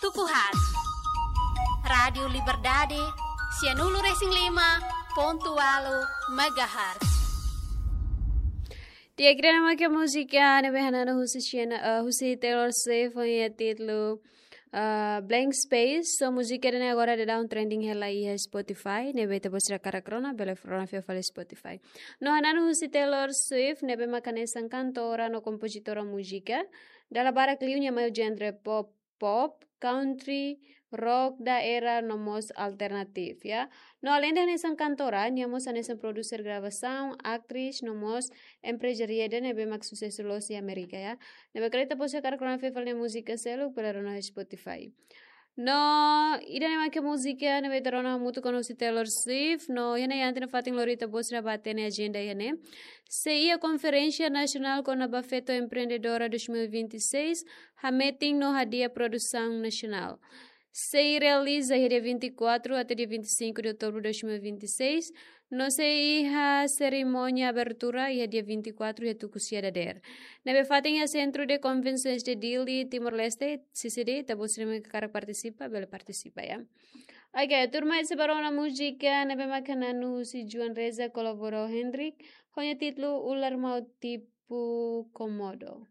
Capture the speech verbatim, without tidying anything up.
Tuku haat. Rádiu Liberdade, sianulu resin lima pontu ualu megahertz. Di'ak, ida-ne'e mak múzika ne'ebé hananu husi Sienna, eh, husi Taylor Swift ho nia títulu, eh, Blank Space. So múzika ida-ne'e agora daudaun trending hela iha Spotify, ne'ebé ita-boot sira hakarak rona, bele rona fila fali Spotify. No hananu husi Taylor Swift, ne'ebé mak hanesan kantora no kompozitora múzika. Dala barak liu nia mai ho genre pop, pop, country, rock daerah no mós alternatif, ya. No aleinde hanesan kantora, nia mós hanesan produser gravasaun, atriz no mós emprezária ida ne'ebé mak susesu loos iha Amérika, ya. Ne'ebé karik ita-boot sira hakarak rona fila fali nia múzika seluk, bele rona iha Spotify. No ida-ne'e mak múzika ne'ebé ita rona hamutuk ho Taylor Swift, no iha ne'e ante no fatin lori ita-boot sira bá hatene ajenda iha ne'e. Sei iha Konferénsia Nasionál kona-ba Feto Empreendedora dois mil e vinte e seis, hametin no hadi'a produsaun nasionál. Sei realiza iha dia vinte e quatro até dia vinte e cinco de outubro de dois mil e vinte e seis, no sei iha serimónia abertura iha dia vinte e quatro iha tuku sia dadeer. Ne'ebé fatin iha Centro de Convenções de Dili, Timor-Leste, C C D, ita-boot sira ne'ebé hakarak partisipa, bele partisipa, ya. Oke, tuirmai ita sei bá rona múzika ne'ebé mak hananu husi Joan Reza kolabora ho Hendrik, ho nia títulu Ular Maut Tipu Komodo.